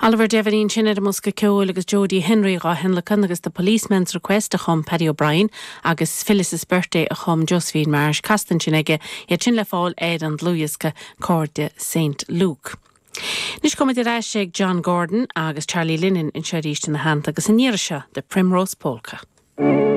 Oliver Devaney ansin ar an mbosca ceoil agus Jodie Henry dhá thionlacan agus The Policeman's Request a chum Paddy O'Brien agus Phyllis's Birthday a chum Josephine Marsh casta ansin aige, iad sin le fáil ar an dlúthdhiosca Cairde Saint Luke. Anois gabhfaimid ar ais ag John Gordon agus Charlie Lennon anseo arís ina theannta agus an iarraidh seo The Primrose Polka.